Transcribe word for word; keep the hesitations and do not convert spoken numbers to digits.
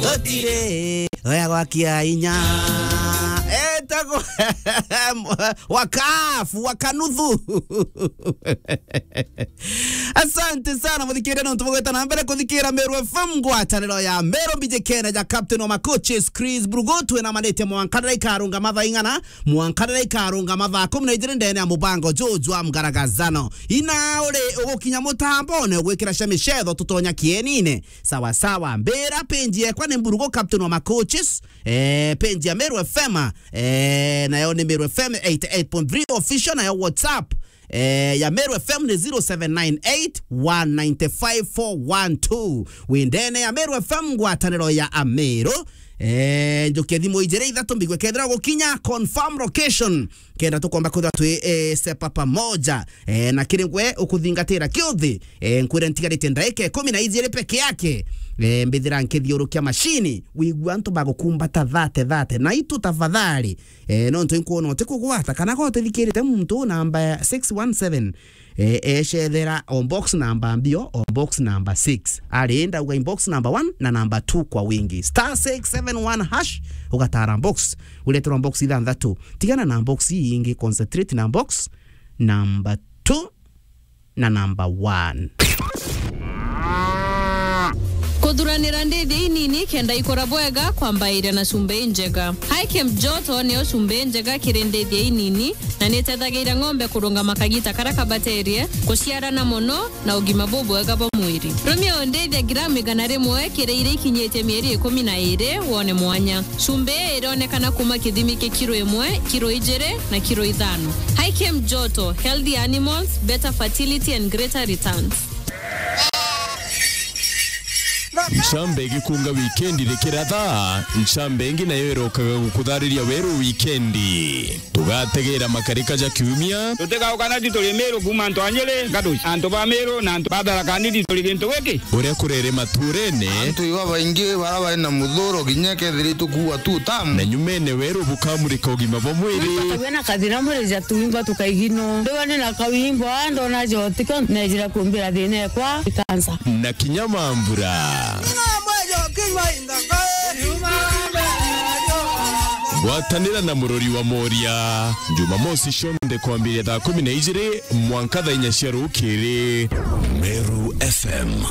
Gutire oya gwakia inya. Etagwo Wakafu, Wakanuthu. Asante sana, muthikiria, nontu bugweta na mbere kuthikira Meru F M, ngwataniro ya Meru, mbiji Kenya, ja Captain wa Macoaches, Chris Brugo. Twina manite mwanka riria ikarunga mathaa ing'ana, mwanka riria ikarunga mathaa kumi na ijiri ndene ya mubango juju wa mgaragazano. Ina uri ugukinya mutambone, ugwikira cia micetho, tutonya kienine. Sawa sawa, mbira page yekwa ni Mburugo, Captain wa Macoaches. Eh, page ya Meru F M, eh, nayo ni Meru F M eighty eight point three official, nayo WhatsApp, eh, ya Meru F M ni zero seven nine eight one nine five four one two. Windene ya Meru F M, ngwataniro ya Ameru. Eh, njukie thimu ijiri ithatu mbigwe kethira gukinya confirm location. Kenda tukomba kwithirwa twi, eh, sepa pamoja. Eh, na kiri ngwe ukuthingatira kiuthi, eh, nkwire ntigarite ndaika ikumi na ijiri peke yake. Eh, mbithira nkithiurukia mashini, wigua antu bagukumbata thate thate. Na itu tafadhali, eh, nontu inkwona utikugwata, kana ko utithikirite muntu namba ya six one seven, eh, ecethera o box namba mbio, o box namba six. Ari, ndauga in box namba one na namba two kwa wingi. Star six seven one hash, ugatara box, ureterwa box ithanthatu. Tigana na box ii ingi, concentrate na box namba two na namba one. Kuthuranira ndithia inini kenda ikura bwega kwambairia na cumbi injega. High Camp Joto niyo cumbi injega kiri ndithia inini, na nitethagiria ng'ombe kurungama kagita karia kabaterie, kuciarana mono, na ugima bubwega bwa mwiri. Rumia undithia gramu igana rimwe kiri iria ikinyitie mieri ikumi na iri wone mwanya. Cumbi ii ironekana kuma kithimi kia kiro imwe, kiro ijiri, na kiro ithano. High Camp Joto, healthy animals, better fertility and greater returns. Ncambe igikunga wikendi rikiratha, ncambe ingi nayo irokaga gukuthariria weru wikendi. Tugategera makarika ja kiumia. Tutigaukana ti turi Miru kuma antu a Nyiri, Gaduci, antu ba Miru na antu ba Tharaka Nithi turi gintu giki. Uria kurere maturene. Antu iba baingi bara bari na muthuro kinya kethira itukuua tu tamu. Na nyumene weru bukamurika ugima bwa mwiri. Tawena kathina mwiri ja tuimba tukaigino. Ndiwa ni na kawimbo, ndona jo tiko nejira kumbira thina ekwa ikansa. Na kinya mambura. Gwatanira na murori wa Moria, Jumamosi cionthe kwambiria thaa kumi na ijiri mwanka thaa inya cia rukiri. Meru F M.